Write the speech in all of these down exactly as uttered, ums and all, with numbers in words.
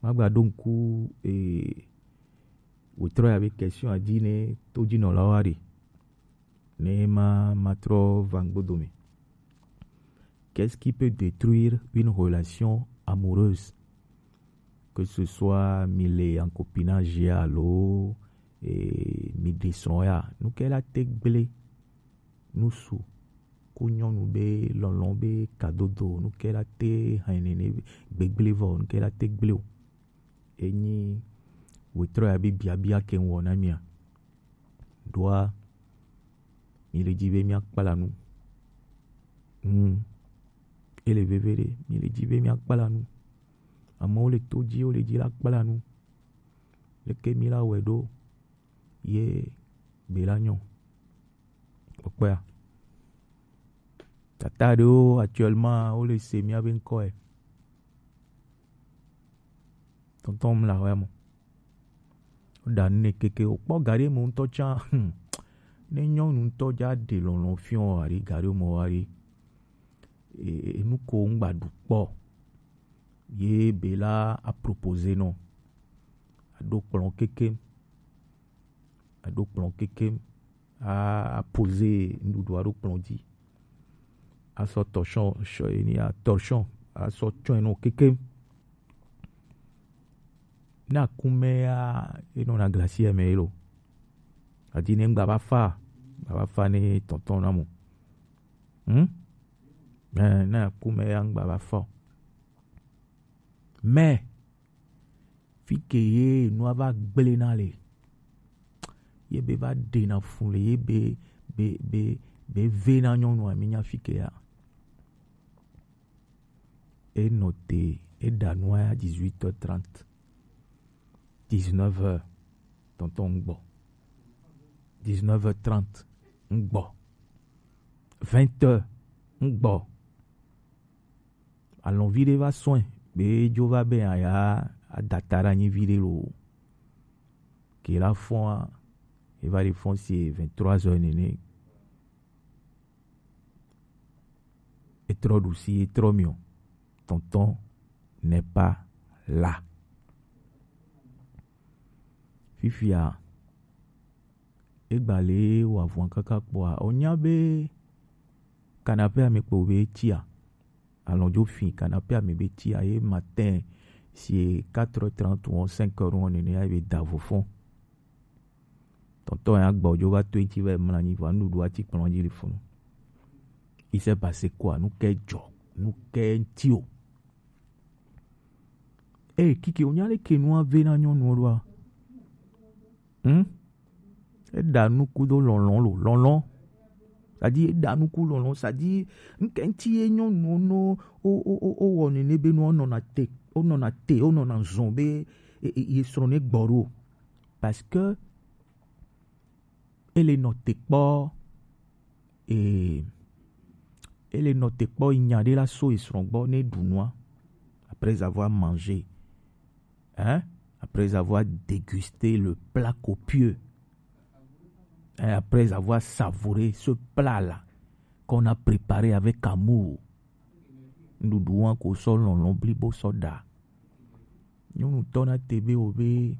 Magba ɖo ŋku e wòtrɔ ya be question a dzi ne to dzi nɔlawo aɖe. Ne ma matrɔ va ŋgbodo me. Qu'est-ce qui peut détruire une relation amoureuse? Que ce soit mi le en copinage alo e, mi ɖe srɔ̃ ya, nu ke la te gblẽ nusu ku nyɔnu be lɔlɔ̃ be kadodo, nu ke la te hɛn nene gbegblẽ vɔ, nu ke la te gblẽ o. Enyi wòtrɔ ya be biabia ke ŋwɔ na mia. Ɖoa, mi le dzi be mia kpla nu. Hmm. Ele veve ɖe, mi le dzi be mia kpla nu. Amewo le to dzi, wo le dzi la kpla nu. Leke mi la wɔe ɖo ye be la nyɔ? Kpɔkpɔa. Tata ɖewo actuellement wo le se mia be ŋkɔe. Tɔntɔn mla wɛ mo. Wo ɖa nu ne keke o kpɔ gaɖe mo ŋutɔ tsã. Hmm. Ne nyɔnu ŋutɔ dza ɖe lɔlɔ̃ fiɔ aɖe gaɖe mo aɖe. E, e, nu ko ŋgba ɖu kpɔ. Ye be la a proposer nɔ. Aɖo kplɔ̃ kekem. Aɖo kplɔ̃ kekem. A, a poser nuɖuɖu aɖo kplɔ̃ dzi. Asɔ torchon, sɔ, eni a torchon. Asɔ tsɔe nɔ kekem. Ne akumɛ ya, enɔna glacière me lo. Adi ne ŋgba va fa, ŋgba va fa ne tɔntɔn na mo. Hmm? Eh, ne akumɛ ya ŋgba va fa o. Mais, fi ke ye nua va gblẽ na le, ye be va ɖena fu le, ye be, be, be, be ve na nyɔnua, mi nya fi ke ya. E nɔ te, e ɖa nua ya dix-huit heures trente. Dix-neuf heures, tɔntɔn ŋgbɔ. Dix-neuf heures trente, ŋgbɔ. Vingt heures, ŋgbɔ. Alɔ̃ vi ɖe va sɔe, be dzo va be aya adata ɖe anyi vi ɖe lo. Ke la fɔa, e va ɖe fɔn si vingt-trois heures nene. E trɔ ɖusi, e trɔ miɔ. Tonton n'est pas là. Fifia, egba le wɔ avɔn kaka kpɔa, o nya be canapé ame kpo be tsia. Alɔ̃ dzo fi canapé ame be tsia ye matin si quatre heures trente ou cinq heures nene ya be da vo fɔn. Tɔntɔn ya gbɔ dzo va to eŋti va mla anyi va nuɖuɖu ati kplɔ̃ dzi le funu. Il s'est passé quoi? Nu ke dzɔ? Nu ke ŋti o? Eh, kiki, o nya leke nua ve na nyɔnuɔ ɖoa? Hmm? Eɖa nuku do lɔlɔ̃ lo, lɔlɔ̃. C'est-à-dire, eɖa nuku lɔlɔ̃, c'est-à-dire, ŋke ŋti ye nyɔnuwo no, o, o, o, o wɔ nene be no, o nɔna te, o nɔna te, o nɔna zɔn be, e, e, ye srɔ̃ ne gbɔ ɖo. Parce que ele nɔ te kpɔ, e, ele nɔ te kpɔ nya ɖe la so esrɔ̃ gbɔ ne ɖu nua. Après avoir mangé, hein, après avoir dégusté le plat copieux, hein, après avoir savouré ce plat-là qu'on a préparé avec amour, nuɖuɖu wa ko sɔ lɔlɔ̃ blibo sɔ ɖa. Nyɔnutɔ na te be wo be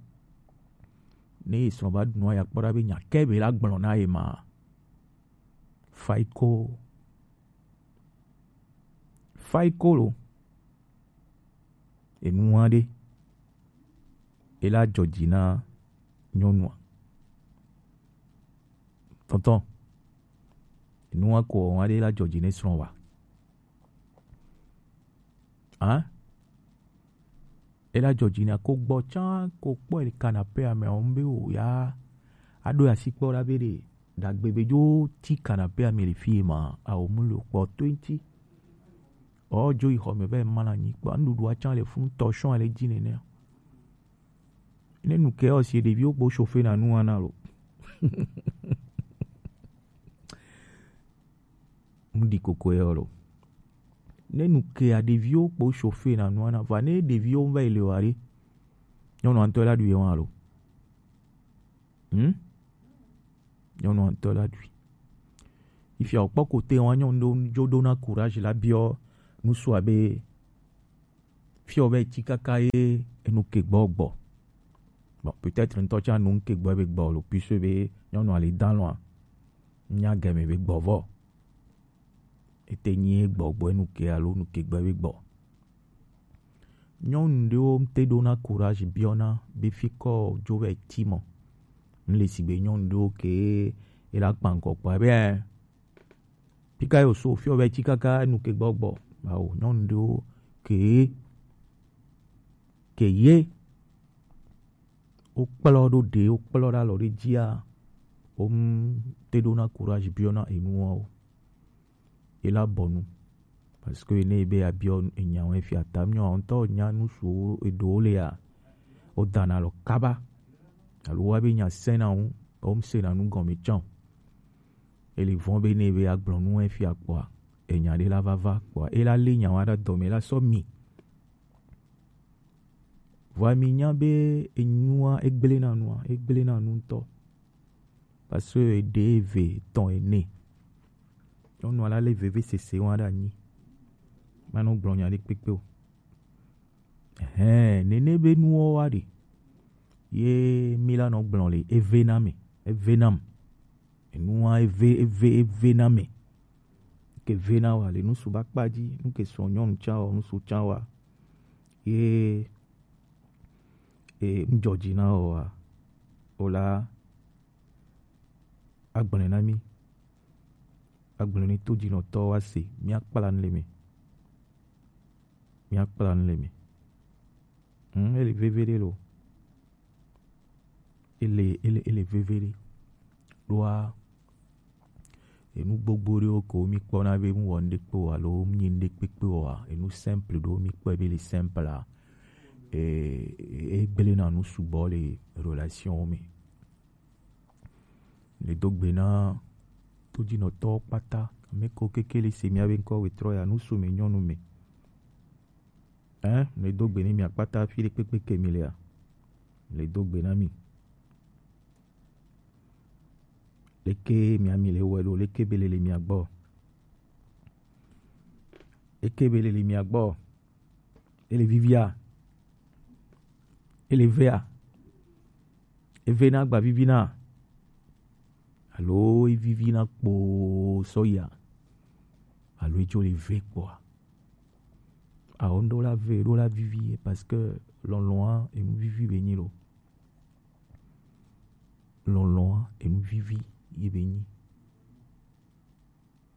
ne esrɔ̃ va ɖu nua ya kpɔ ɖa be nya ke be la gblɔ na ye ma. Faiko. Faiko lo. Enu aɖe. E la dzɔ dzi na nyɔnua. Tɔntɔn. Enu ko aɖe la dzɔ dzi ne srɔ̃ wa. Hein? Ela dzɔ dzi na ko gbɔ tsã ko kpɔ le canapé ame o be o ya aɖo asi kpɔ ɖa be ɖe dagbe be dzo ti canapé ame le fi ma, a o mu le kpɔ to ŋti. O dzo yi xɔ me va ma na nyi kpɔ nuɖuɖu atsã le funu tɔ sɔn le dzi nene. Ne nu ke o si ɖeviwo kpo chauffer na nu ana lo. Ŋɖi koko yɔ lo. Ne nu kea ɖeviwo kpo chauffer na nua na va ne ɖeviwo va yi le wa ɖe. Nyɔnua ŋutɔ la ɖu ye wa lo. Hmm? Nyɔnua ŋutɔ la ɖui. Ifia wòkpɔ kote wa nyɔnu ɖo dzo ɖo na courage la biɔ nusua be Fiɔ be tsi kaka ye enu ke gbɔ gbɔ. Bon, peut-être ŋutɔ tsã nu ke gbɔ be gbɔ lo, puisque be nyɔnu ali dan lɔa, nya gɛmɛ be gbɔ vɔ. Ete nyi gbɔ gbɔ enu ke alo nu ke gbɔ be gbɔ. Nyɔnu ɖewo te ɖona courage biɔna be fi kɔ dzo vɛ ti mɔ. N le sigbe nyɔnu ɖewo ke e la kpa ŋkɔ kpa be, ɛ, pika yo so fiɔ vɛ ti kaka enu ke gbɔ gbɔ. Awo, nyɔnu ɖewo ke, ke ye, wo kplɔ ɖo ɖe, wo kplɔ ɖe alɔ ɖe dzia, wo m te ɖona courage biɔna enuwo o. Ye la bɔ nu. Parce que ne be abiɔ enya wo fia ta, nyɔ ŋutɔ nya nu su eɖewo le ya, wo dana alɔ kaba. Alo wa be nya sena ŋu, wo m sena nu gɔme tsã o. Ele vɔn be ne be agblɔ nu efia kpɔa, enya ɖe la vava kpɔa, e la le nya wa ɖe dɔme la sɔ mi. Vɔa mi nya be enyua egblẽ na nua, egblẽ na nu ŋutɔ. Parce que eɖe eve etɔ̃ ene. Nyɔnua la le veve sese wa ɖe anyi. Manɔ gblɔ nya ɖe kpekpe o. Ɛhɛn, nene be nuwo wa ɖe. Ye mi la nɔ gblɔ le eve na me, eve nam. Enua eve, eve, eve na me. Ke ve na wa le nusu ba kpa dzi, nu ke sɔ nyɔnu tsã wa, nusu tsã wa. Ye, e, ŋdzɔdzi na wa, o la, agblẽ na mi. Agblẽ ni to dzinɔtɔ wa se, mi akpla nu le me. Mi akpla nu le me. Hmm, ele veve ɖe lo. Ele, ele, ele veve ɖe. Ɖoa, enu gbogbo ɖewo ko mi kpɔna be mu wɔ nuɖe kpe o alo mu nyi nuɖe kpekpe o a, enu simple ɖewo mi kpɔe be le simple a, e, e gblẽ na nu sugbɔ le relation wo me. Le do gbe na todzinɔtɔwo kpata, ame ko keke le se mia be ŋkɔ wetrɔ ya, nusu me, nyɔnu me. Hein, le do gbe ni mia kpata fi ɖe kpekpe ke mi lea. Le do gbe na mi. Leke mia mi le wɛ ɖo, leke be le le mia gbɔ? Leke be le le mia gbɔ? Ele vivia? Ele vea? Eve na gba vivi na? Alo evivi na kpo sɔya? Alo edzo le ve kpoa? Awo ŋɖo la ve ɖo la vivi ye, parce que lɔlɔ̃a enu vivi be nyi lo. Lɔlɔ̃a enu vivi ye be nyi.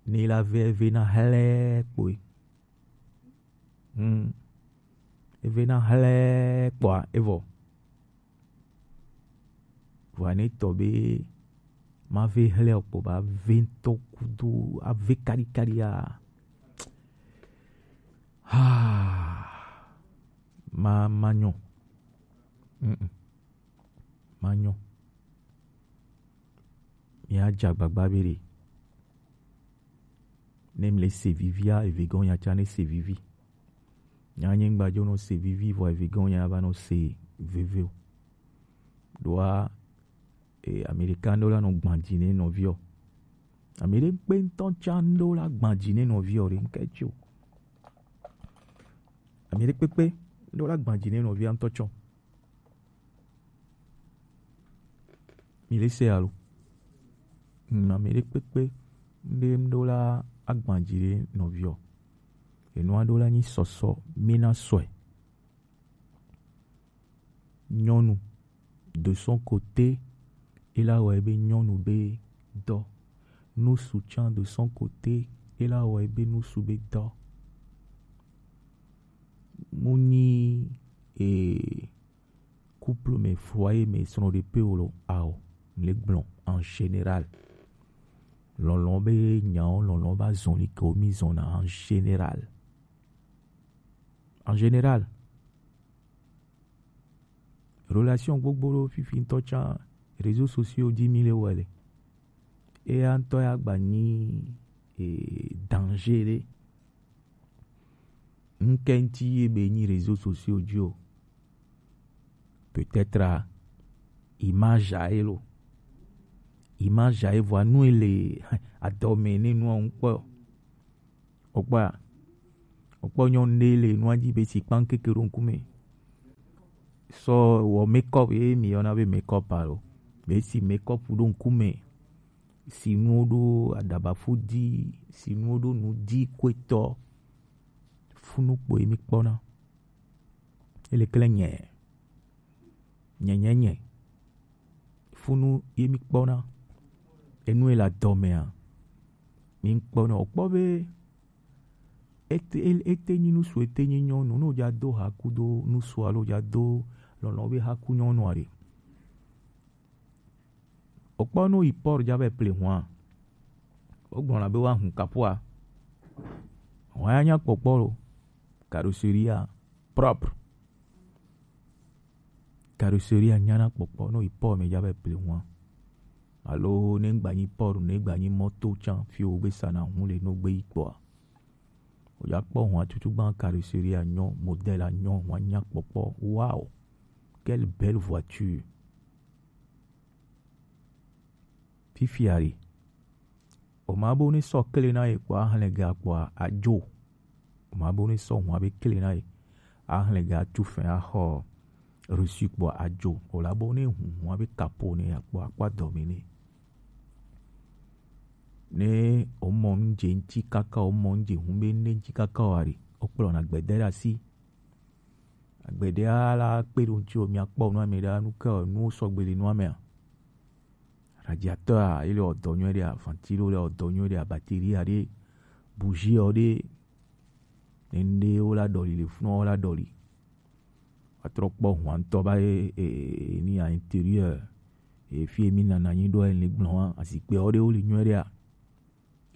Ne la ve, eve na hlɛ kpoe. Hmm. Eve na hlɛ kpoa, evɔ. Vɔa ne tɔ be ma ve hlɛ o kpo ba ve ŋutɔ kudo ave kaɖikaɖi a. Ha. Ma, ma nyɔ. Mm-mm. Ma nyɔ. Mi adze agbagba be ɖe. Ne mi le se vivia, eve gɔ̃ nya tsã ne se vivi. Nya nyigba dzo nɔ se vivi, vɔ eve gɔ̃ nya va nɔ se veve o. Ɖoa, e, Amerika ŋɖo la nɔ gbã dzi ne nɔviɔ. Ame ɖe kpe ŋutɔ tsã ŋɖo la gbã dzi ne nɔviɔ ɖe ŋke tsi o. Ame ɖe kpekpe ŋɖo la gbã dzi ne nɔvia ŋutɔ tsɔ. Mi le se alo? Mm, ame ɖe kpekpe ŋɖe ŋɖo la agbã dzi ɖe nɔviɔ. Enua ɖo la nyi sɔsɔ mi na sɔe. Nyɔnu de son côté, e la wɔ ebe nyɔnu be dɔ. Nusu tsã de son côté, e la wɔ ebe nusu be dɔ. Mu nyi, e, couple me, foyer me, srɔ̃ɖeƒe o lo, ao, le gblɔ en général. Lɔlɔ̃ be nyawo, lɔlɔ̃ be azɔli ke wo mi zɔna en général. En général. Relation gbogbo ɖo fifi ŋutɔ tsã, réseaux sociaux dzi mi le wɔ le. Eya ŋutɔ ya gba nyi, e, danger ɖe. Ŋke ŋuti ye be nyi réseaux sociaux dzi o. Peut-être, a, image a ye lo. Image a ye vɔa nu ele adɔme ne nua ŋu kpɔ. Okpɔa, Kpɔ nyɔnu ɖe le nua dzi be si kpan keke ɖo ŋkume. Sɔ wɔ makeup ye mi yɔna be makeup alo. Be si makeup ɖo ŋkume. Si nuwo ɖo aɖabafu dzi, si nuwo ɖo nu dzi koetɔ. Funu kpo ye mi kpɔna. Ele klẽ nyɛ. Nyɛ, nyɛ, nyɛ. Funu ye mi kpɔna. Enu ye le adɔmea. Mi kpɔna. Okpɔ be ete, ele, ete nyi nusu, ete nyi nyɔnu. No ja do haku do nusu alo ja do lɔlɔ be haku nyɔnu are. Okpɔ no yi port ja be ple hua. Ogblɔna be wa hun kapua. Hua ya nya kpɔkpɔ lo. Carrosserie propre. Carrosserie nyana kpɔkpɔ no yi port me ja be ple hua. Alo ne gba nyi port, ne gba nyi moto tsan fi wo gbe sana hun le no gbe yi kpɔa. O ja kpɔ hua tutu gban carrosserie a nyɔ, modèle a nyɔ, hua nya kpɔkpɔ. Wow. Quelle belle voiture. Fifia ɖe. O ma bo ne sɔ kle na ye kpɔ ahlẽ ga kpɔ adzo. O ma bo ne sɔ hua be kle na ye. Ahlẽ ga tu fɛn axɔ reçu kpɔ adzo. O la bo ne hu hua be kapo ne akpɔ akpa dɔme ne. Ne o mɔ nu dze ŋti kaka o mɔ nu dze hu be ne ŋti kaka o ari. O kplɔ na gbede ɖe asi. Agbeɖe ala kpe ɖo ŋti o mia kpɔ nua me ɖa nu ke o nuwo sɔgbe le nua mea. Radiateur a, ele wɔ dɔ nyuie ɖea, ventilo le wɔ dɔ nyuie ɖea, batterie a ɖe, bougie ɔ ɖe, nende wo la ɖɔli le funu wo la ɖɔli. Atrɔ kpɔ hua ŋutɔ ba ye e, e, ni a intérieur e fi mi nana nyi ɖo e le gblɔ wa azikpe wo ɖe wo le nyuie ɖea.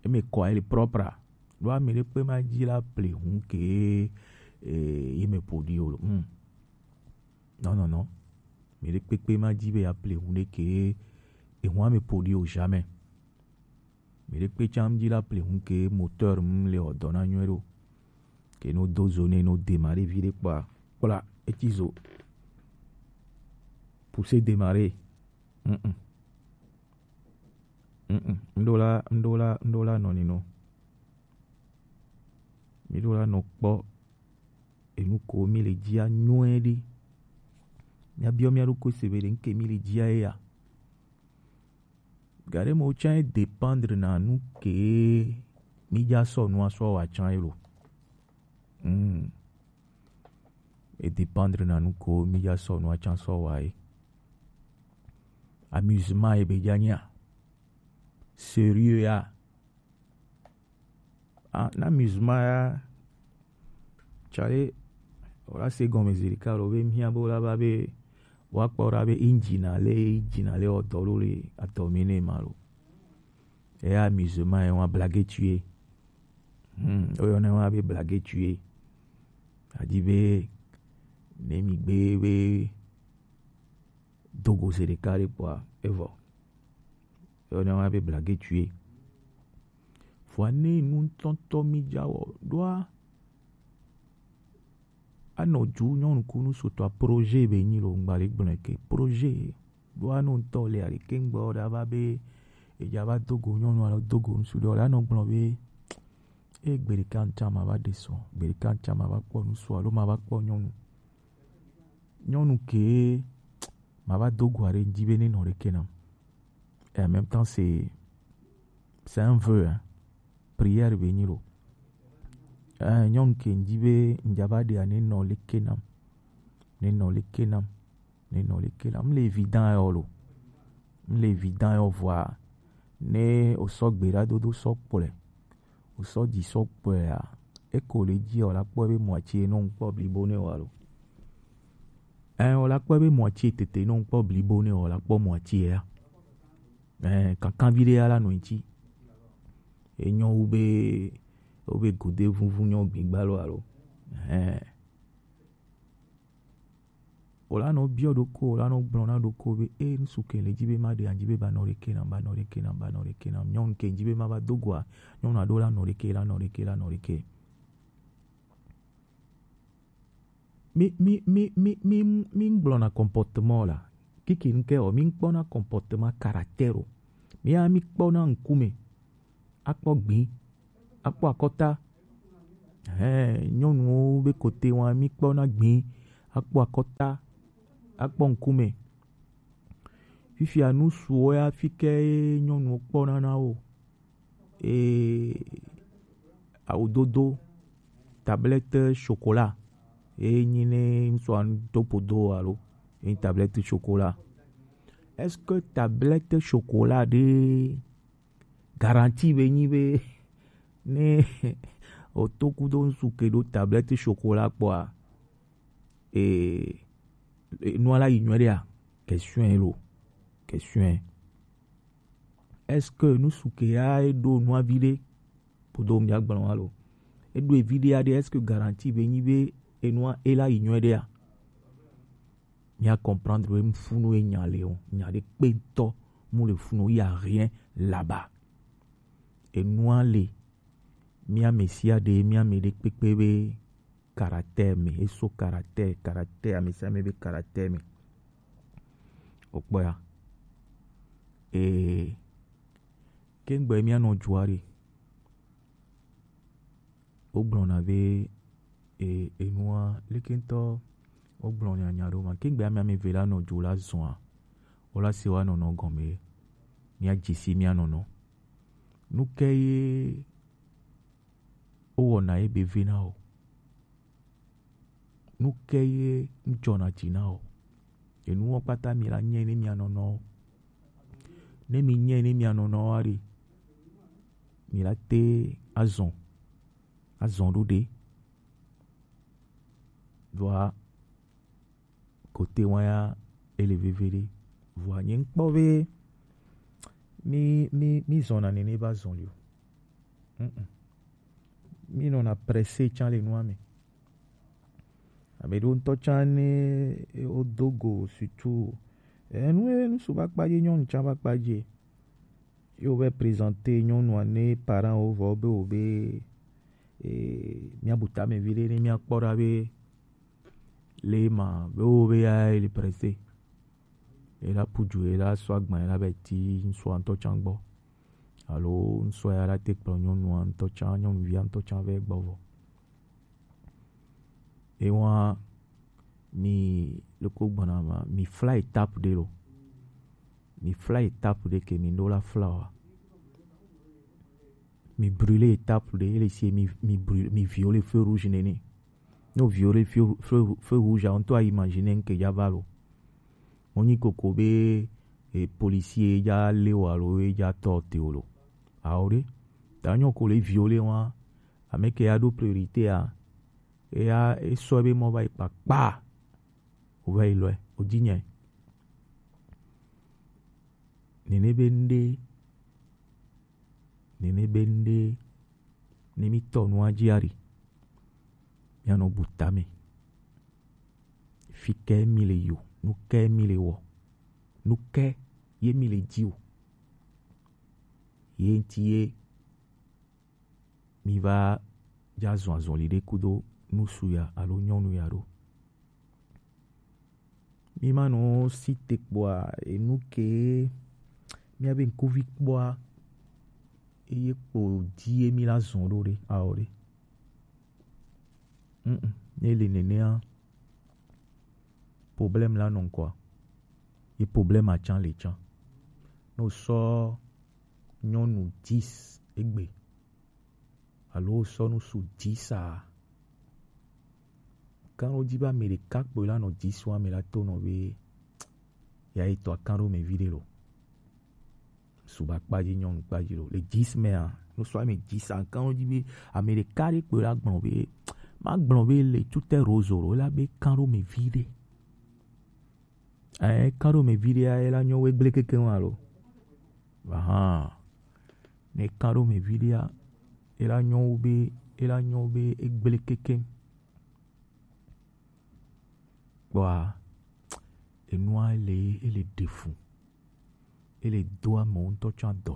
Eme kɔ ele propre. Ɖo ame ɖe kpe ma dzi la ple hu ke e, ye me ƒo ɖi o. Hmm. Non, non, non. Me ɖe kpekpe ma dzi be ya ple hu ɖe ke e hu ame ƒo ɖi o jamais. Me ɖe kpe tsam dzi la ple hu ke moteur m le wɔ dɔ na nyuie ɖo. Ke no do zo ne no démarrer vi ɖe kpɔa kpla etsi zo. Pousser démarrer. Mm-mm. Mm-mm. Ŋɖo la, ŋɖo la, ŋɖo la nɔ ni nɔ. Mi ɖo la nɔ kpɔ enu ko mi le dzia nyuie ɖe. Mia biɔ mia ɖokui se be ɖe ŋke mi le dzia ye ya. Gaɖe mo tsã e dépendre na nu ke mi dza sɔ nua sɔ wa tsã ye lo. Hmm. E dépendre na nu ko mi dza sɔ nua tsã sɔ wa ye. Amusement ye be dza nya. Sérieux ya. Ah, na amusement ya. Tsale, o la se gɔme zi ɖeka lo be mia bo la ba be wa kpɔ ɖa be injina le injina le wɔ dɔ lo le atɔ mi ne ma lo. Eya amusement ye wa blague tuer. Hmm, o yɔ ne wa be blague tuer. Adi be ne mi gbe be dogo se ɖeka ɖe kpɔa evɔ. Yɔ ne wa be blague tuer. Vɔa ne nu ŋutɔŋutɔ mi dza wɔ ɖoa anɔ dzu nyɔnu kunu sotɔa projet be nyi lo ŋgba le gblɔe ke projet. Ɖo anu ŋutɔ le aɖeke ŋgbɔ ɖa va be edza va do go nyɔnu alo do go ŋsu ɖe o la nɔ gblɔ be e gbe ɖeka ŋtsa ma va ɖe sɔ gbe ɖeka ŋtsa ma va kpɔ ŋsu alo ma va kpɔ nyɔnu. Nyɔnu ke ma va do go aɖe ŋdi be ne nɔ ɖeke nam. Et en même temps c'est c'est un vœu hein. Prière be nyi lo. Eh, nyɔnu ke ŋdi be ŋdza va ɖea ne nɔ leke nam. Ne nɔ leke nam. Ne nɔ leke nam. M le évident yɔ lo. M le évident yɔ vɔa. Ne o sɔ gbe ɖa dodo sɔ kplɔe. O sɔ dzi sɔ kplɔe a. Eko le dzi o la kpɔ be mɔatsi no ŋkpɔ blibo ne wa lo. Eh, o la kpɔ be mɔatsi tete no ŋkpɔ blibo ne o la kpɔ mɔatsi ya. Eh, kankanvi ɖe ya la nɔ ŋtsi. Enyɔ wu be wo be gode vuvu nyɔ gbigba lo alo. Eh. O la nɔ biɔ ɖoko, o la nɔ gblɔ na ɖoko be e ŋsu ke le dzi be ma ɖe anyi be ba nɔ ɖeke nam, ba nɔ ɖeke nam, ba nɔ ɖeke nam. Nyɔnu ke dzi be ma va do goa, nyɔnu aɖewo la nɔ ɖeke, la nɔ ɖeke, la nɔ ɖeke. Mi mi mi mi mi mi ŋgblɔna comportement la. Kiki ŋkɛ o, mi ŋkpɔna comportement caractère o. Mi ya mi kpɔna ŋkume. Akpɔ gbi, akpɔ akɔta. Hɛn, nyɔnuwo be kote wa mi kpɔ na gbin, akpɔ akɔta, akpɔ ŋkume. Fifia nu suwo ya fi ke nyɔnuwo kpɔ na na wo. E, awu dodo, tablette chocolat. E nyi ne ŋsua do podo alo, e nyi tablette chocolat. Est-ce que tablette chocolat ɖe garantie be nyi be ne o to kudo ŋsu ke ɖo tablette chocolat kpɔa, e, e, nua la yi nyuie ɖea? Question lo. Question. Est-ce que nu su ke ya e ɖo nua vi ɖe? Podo mi agblɔ alo. E ɖo evi ɖe ya ɖe, est-ce que garantie be nyi be enua e la yi nyuie ɖea? Mia comprendre be funu ye nya le o. Nya ɖe kpe ŋutɔ mu le funu, il y a rien là-bas. Enua le, mia me sia ɖe, mia me ɖe kpekpe be caractère me, eso caractère, caractère, ame sia ame be caractère me. Okpɔ ya. Ee, kengbe mia nɔ jua ɖe. Wogblɔna be, e, enua, leke ŋutɔ wogblɔ nyanya ɖo ma. Kengbe ame ame eve la nɔ jo la zɔa, wola se wa nɔnɔ gɔme. Mia dzesi mia nɔnɔ. Nu ke ye wowɔna ye be vena o? Nu ke ye ŋdzɔna dzi na o? Enuwo kpata mi la nyɛ ne mia nɔnɔ o. Ne mi nyɛ ne mia nɔnɔ wa ɖe, mi la te azɔn, azɔn ɖo ɖe. Vɔa kote wa ya ele veve ɖe. Vɔa nye ŋkpɔ be mi, mi, mi zɔna nene va zɔn li o. Mm-mm. Mi nɔna pressé tsan le nua me. Abe ɖo ŋutɔ tsan ne wodo go surtout. Enu, enu su va kpadzi, nyɔnu tsan va kpadzi. Ye wovɛ présenter nyɔnua ne parent wo vɔ be wo be, e, miabu tame vi ɖe ne miakpɔ ɖa be le ma be wo be ya ele pressé. Ela puju, ela sɔ agban, ela bɛ ti ŋsua ŋutɔ tsan gbɔ. Alo ŋsua ya la te kplɔ nyɔnua ŋutɔ tsan, nyɔnuvia ŋutɔ tsan vɛ gbɔ vɔ. Ewa mi loko gbɔna ma, mi fla étape ɖe lo. Mi fla étape ɖe ke mi ɖo la fla wa. Mi brûler étape ɖe, ele si mi, mi brûler, mi violer feu rouge nene. Ne o violer feu, feu, feu rouge a, ŋutɔ a imaginer ŋke dza va lo. Mo nyi koko be, e, policier dza le wa lo, e dza tɔ te o lo. Awo ɖe. Ta nyɔ ko le violer wa, ame ke ya ɖo priorité a, eya, esɔ ebe mɔ va yi kpakpa. O va yi lɔe, o dzi nyɛ. Nene be ŋɖe, nene be ŋɖe, ne mi tɔ nua dzi ari, mianɔ bu tame. Fi ke mi le yo, nu ke mi le wɔ, nu ke ye mi le dzi o. Ye ŋti ye mi va dza zɔn azɔli ɖe kudo nusu ya alo nyɔnu ya ɖo. Mi ma nɔ si te kpɔa, enu ke miabe ŋkuvi kpɔa, eye kpo di ye mi la zɔn ɖo ɖe, awɔ ɖe. Mm, ne le nenea, problème la nɔ ŋkɔa, ye problème atsan le tsan. Ne o sɔ nyɔnu dix egbe, alo o sɔ nusu dix a, kan ɖo dzi be ame ɖeka kpoe la nɔ dix wa me la to nɔ be ya yi tɔ akan ɖo me vi ɖe lo. Suba kpadzi nyɔnu kpadzi lo. Le dix mea, no sɔ ame dix a, kan ɖo dzi be ame ɖeka ɖe kpoe la gblɔ be, ma gblɔ be le tute rozo lo, la be kan ɖo me vi ɖe. Ɛ, kan ɖo me vi ɖea, ela nyɔ wo egble keke wa lo. Ahan. Ne kan ɖo me vi ɖea, ela nyɔ wo be, ela nyɔ wo be egble keke. Kpɔa, enua ele, ele ɖe fu. Ele do amewo ŋutɔ tsã dɔ.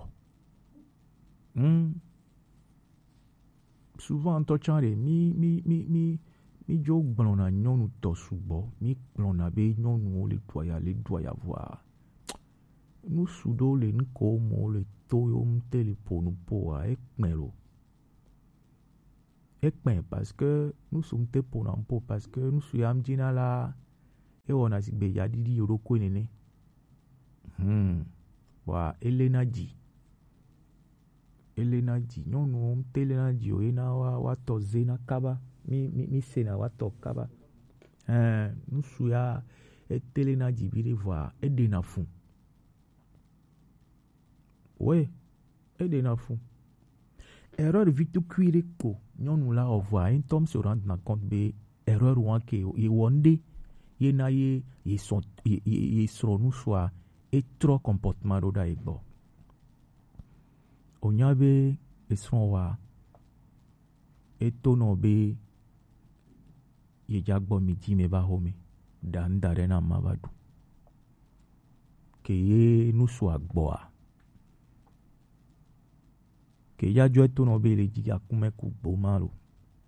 Hmm. Souvent ŋutɔ tsã ɖe, mi, mi, mi, mi, mi dzo gblɔna nyɔnu tɔ sugbɔ. Mi gblɔna be nyɔnuwo le ɖuaya, le ɖuaya vɔa. Nu su ɖewo le, nu ko mo le to yo ŋute le ƒo nu ƒoa, ekpɛ lo. Ekpɛ parce que nusu ŋte pona ŋpo parce que nusu ya ŋdzi na la ewɔna sigbe ya ɖiɖi yo ɖokui nene. Hmm. Bɔa ele na dzi. Ele na dzi. Nyɔnuwo ŋte le na dzi o, ena wa wa tɔ ze na kaba. Mi mi mi se na wa tɔ kaba. Ɛɛ, nusu ya etele na dzi bi ɖe vɔa eɖe na fu. We, eɖe na fu. Erreur vi tukui ɖe ko nyɔnu la wɔ vɔa, ye ŋutɔ se rendre na compte be erreur wa ke ye wɔ ŋɖe ye na ye ye srɔ̃ ye ye ye srɔ̃ nusua etrɔ comportement ɖo ɖa ye gbɔ. O nya be esrɔ̃ wa eto nɔ be ye dza gbɔ mi dzi me va xo me ɖa ŋda ɖe na ma va ɖu. Ke ye nusu agbɔa. Ke ya dzɔe to nɔ be le dzi akume ku gboma lo,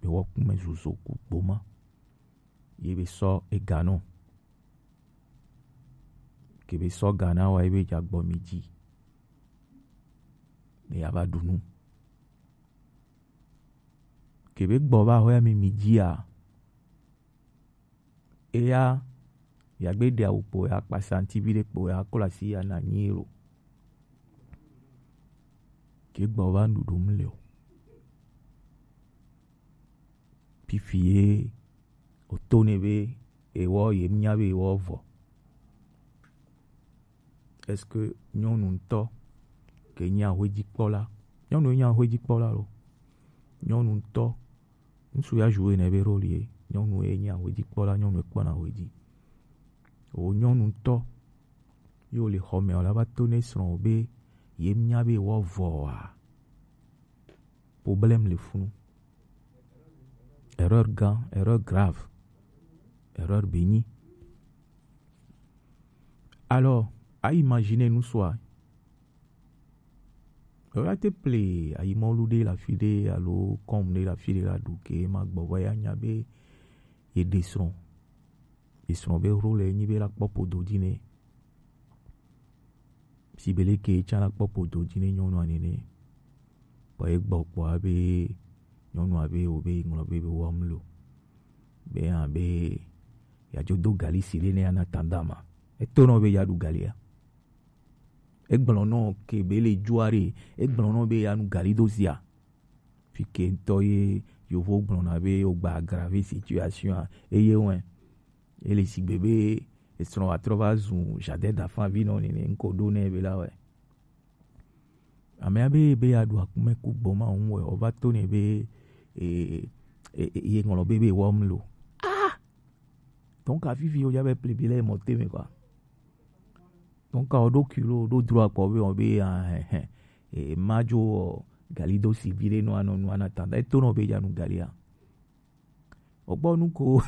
be wɔ kume zozo ku gboma. Ye be sɔ ega nɔ. Ke be sɔ ga na wa ye be dza gbɔ mi dzi. Be ya va ɖu nu. Ke be gbɔ va xɔ ya mi mi dzia. Eya ya gbe ɖe awu kpo ya kpasa ŋuti vi ɖe kpo ya klo asi ya na nyi lo. Ke gbɔ va nuɖuɖu mu le o. Pifi ye o to ne be ewɔ ye nya be ewɔ vɔ. Est-ce que nyɔnu ŋutɔ ke nye ahwedzikpɔla? Nyɔnu ye nye ahwedzikpɔla lo. Nyɔnu ŋutɔ, ŋutsu ya joue ne be rôle ye. Nyɔnu ye nye ahwedzikpɔla, nyɔnu ye kpɔna ahwedzi. O nyɔnu ŋutɔ, yo le xɔ me o la va to ne srɔ̃ o be ye nya be wɔ vɔa. Problème le funu. Erreur gã, erreur grave, erreur béni. Alors, à imaginer nous soit. Erreur te ple ayi mɔlu de la fi de alo kɔm de la fi de la du ke ma gbɔ va ya nya be ye de srɔ̃. Ye srɔ̃ be rôle nyi be la kpɔ podo dzi ne. Si be leke tsã la kpɔ podo dzi ne nyɔnua nene. Kpɔ ye gbɔ kpɔ abe nyɔnua be o be ŋlɔ be be wɔm lo. Be hã be ya dzo do gali si le ne ana tanda ma. Eto nɔ be ya ɖu galia. Egblɔ nɔ ke be le dzua ɖe, egblɔ nɔ be ya nu gali do zia. Fi ke ŋutɔ ye yovo gblɔna be o gba aggraver situation a, eye wɛ. Ele sigbe be esrɔ̃ atrɔ va zu jardin d'enfant vi nɔ nene ŋko ɖo nɛ be la wɛ. Amea be be ya ɖu akume ku gbɔma ŋu wɛ, o va to nɛ be e, e, e, ye ŋlɔ be be wɔm lo. Ah! Donc afifi o ja be ple bi le mɔ te me quoi. Donc o ɖo kilo ɖo dro akpɔ be o be ah, eh, eh, e ma dzo o gali do si bi le no ano no ana tanda. Eto no be ja nu galia. Okpɔ nu ko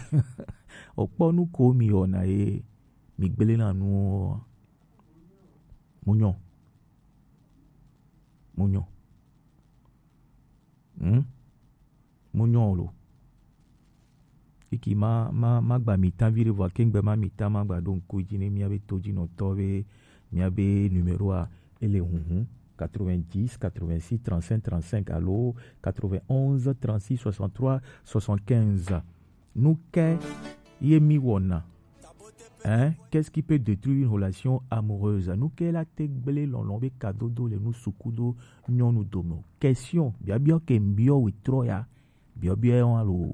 okpɔ nu ko mi wɔna ye mi gblẽ na nuwo. Mu nyɔ. Mu nyɔ. Hmm? Mu nyɔ lo. Iki ma ma ma gba mi ta vi ɖe vɔ kengbe ma mi ta ma gba ɖo ŋku dzi ne mia be to dzi nɔtɔ be mia be numéro a ele hunhun quatre-vingt-dix quatre-vingt-six trente-cinq trente-cinq alo quatre-vingt-onze trente-six soixante-trois soixante-quinze. Nu ke ye mi wɔna? Hein? Qu'est-ce qui peut détruire une relation amoureuse? Nu ke la te gblẽ lɔlɔ̃ be kadodo le nu suku do nyɔnu dome? Question, biabia ke mbiɔ wetrɔ ya. Biabia wa lo.